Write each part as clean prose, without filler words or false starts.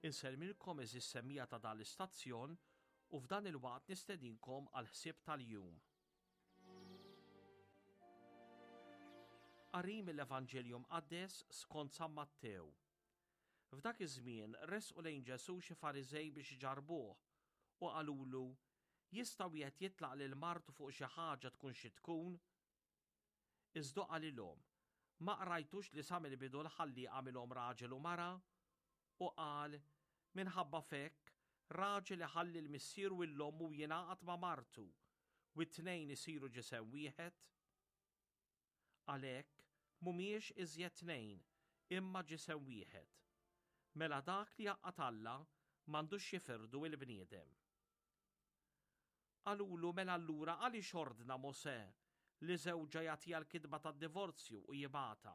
Insellmilkom għeżież semmiegħa ta' dan l-istazzjon u f'dan il-waqt nistedinkom għall-ħsieb tal-jum. Qari mill-Evanġelju Mqaddes skont San Mattew. F'dak iż-żmien resqu lejn Ġesù xi Fariżej biex iġarrbuh u qalulu, Jista' wieħed jitlaq lil martu fuq xi ħaġa tkun xi tkun? Iżda hu qalilhom, Ma qrajtux li sa mill-bidu l-Ħallieq għamilhom raġel u mara? U qal, Minħabba f'hekk, raġel iħalli 'l missieru u 'l ommu u jingħaqad ma' martu, u t-tnejn isiru ġisem wieħed? Għalhekk, mhumiex iżjed tnejn, imma ġisem wieħed. Mela dak li għaqqad Alla m'għandux jifirdu il-bniedem. Qalulu, Mela allura għaliex ordna Mosè li żewġha jagħtiha l-kitba tad-divorzju u jibgħatha?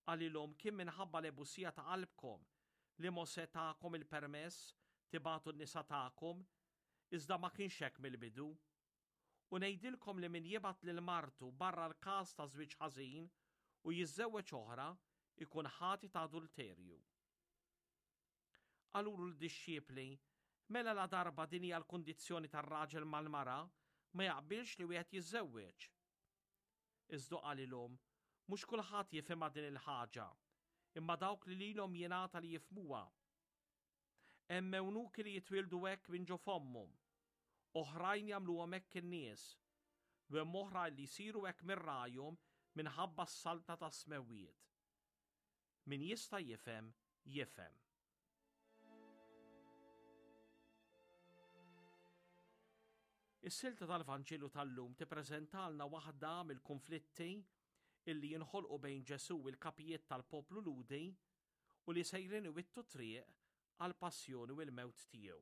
Qalilhom, Kien minħabba l-ebusija ta' qalbkom li Mosè takom il-permess tibagħtu n-nisa tagħkom, iżda ma kienx hekk mill-bidu. U ngħidilkom li min jibgħat lil martu barra l-każ ta' żwieġ ħażin u jiżżewweġ oħra jkun ħati ta' adulterju. Qalulu l-dixxipli, Mela ladarba din hija l-kundizzjoni tar-raġel mal-mara, ma jaqbilx li wieħed jiżżewweġ. Iżda hu qalilhom, Mhux kulħadd jifhimha din il-ħaġa, imma dawk li lilhom jingħata li jifhmuha. Hemm ewnuki li jitwieldu hekk minn ġo fommhom, oħrajn jagħmluhom hekk in-nies, u hemm oħrajn li jsiru hekk minn rajhom minħabba s-saltna tas-smewwiet. Min jista' jifhem, jifhem. Is-silta tal-Vanġelu tal-lum tippreżentalna waħda mill-kunflitti illi jinħolqu bejn Ġesù u l-kapijiet tal-poplu Lhudi u li sejrin iwittu triq għall-passjoni u l-mewt tiegħu.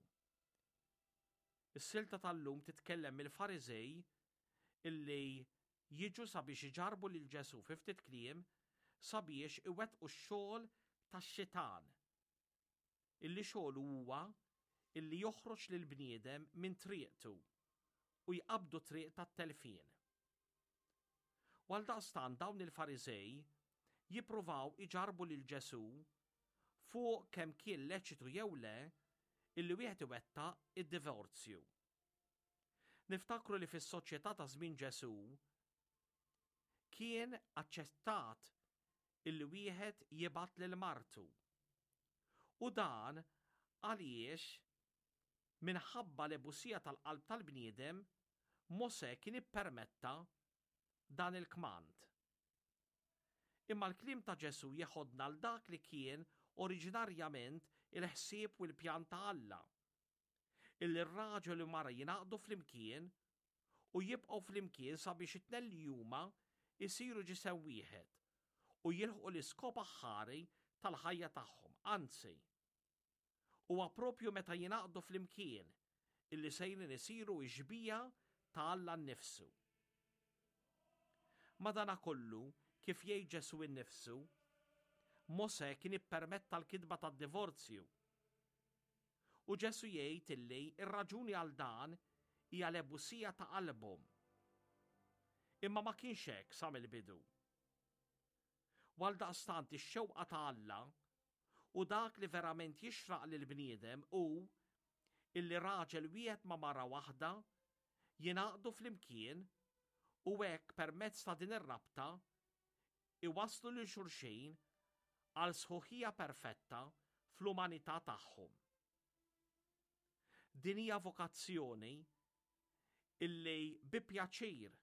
Is-silta tal-lum titkellem mill-Fariżej illi jiġu sabiex iġarrbu lil Ġesù, fi ftit kliem, sabiex iwettqu x-xogħol tax-xitan, illi xogħlu huwa illi joħroġ lill-bniedem minn triqtu u jqabbdu triq tat-telfien. U għaldaqstant dawn il-Fariżej jippruvaw iġarrbu lil Ġesù fuq kemm kien leċitu jew le illi wieħed iwettaq id-divorzju. Niftakru li fis-soċjetà ta' żmien Ġesù kien aċċettat illi wieħed jibgħat lil martu. U dan għaliex minħabba l-ebusija tal-qalb tal-bniedem Mosè kien ippermetta dan il-kmand. Imma l-kliem ta' Ġesù jeħodna għal dak li kien oriġinarjament il-ħsieb u l-pjan ta' Alla. Illi r-raġel u mara jingħaqdu flimkien u jibqgħu flimkien sabiex it-tnejn li huma jsiru ġisem wieħed u jilħqu l-iskop aħħari tal-ħajja tagħhom, anzi, huwa proprju meta jingħaqdu flimkien illi sejrin isiru x-xbieha ta' Alla nnifsu. Madanakollu, kif jgħid Ġesù nnifsu, Mosè kien ippermetta l-kitba tad-divorzju. U Ġesù jgħid illi r-raġuni għal dan hija l-ebusija ta' qalbhom. Imma ma kienx hekk sa mill-bidu. U għaldaqstant ix-xewqa ta' Alla u dak li verament jixraq lill-bniedem hu illi raġel wieħed ma' mara waħda jingħaqdu flimkien u hekk permezz ta' din ir-rabta iwasslu lil xulxin għal sħuħija perfetta fl-umanità tagħhom. Din hija vokazzjoni illi bi pjaċir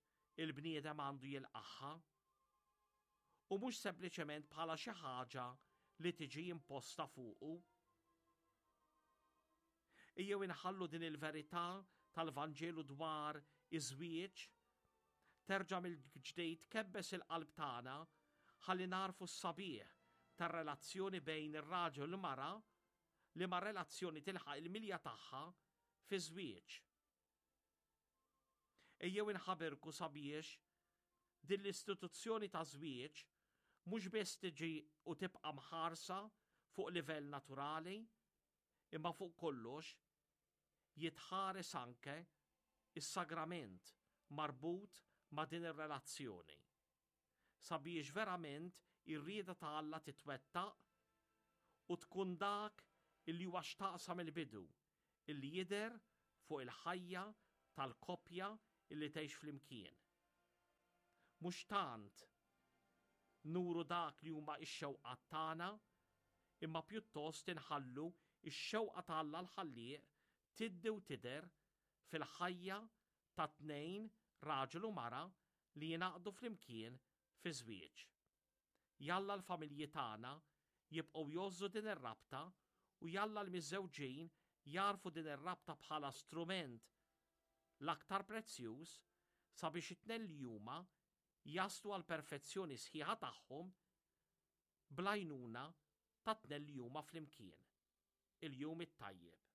il-bniedem għandu jilqagħha u mhux sempliċement bħala xi ħaġa li tiġi imposta fuqu. Ejjew inħallu din il-verità tal-Vanġelu dwar iż-żwieġ terġa' mill-ġdid tkebbes il-qalb tagħna ħalli nagħrfu s-sabiħ tar-relazzjoni bejn ir-raġel u l-mara liema relazzjoni tilħaq il-milja tagħha fiż-żwieġ. Ejjew inħabirku sabiex din l-istituzzjoni ta' żwieġ mhux biss tiġi u tibqa' mħarsa fuq livell naturali, imma fuq kollox jitħares anke s-sagrament marbut ma' din ir-relazzjoni, sabiex verament ir-rieda ta' Alla titwettaq u tkun dak illi huwa xtaq sa mill-bidu illi jidher fuq il-ħajja tal-koppja illi tgħix flimkien. Mhux tant nuru dak li huma x-xewqat tagħna, imma pjuttost inħallu x-xewqa ta' Alla l-Ħallieq tiddi u tidher fil-ħajja ta' tnejn raġel u mara li jingħaqdu flimkien fi żwieġ. Jalla l-familji tagħna jibqgħu jgħożżu din ir-rabta u jalla l-miżżewġin jagħrfu din ir-rabta bħala strument l-aktar prezzjuż sabiex it-tnejn li huma jaslu għall-perfezzjoni sħiħa tagħhom bl-għajnuna tat-tnejn li huma flimkien. Il-jum it-tajjeb.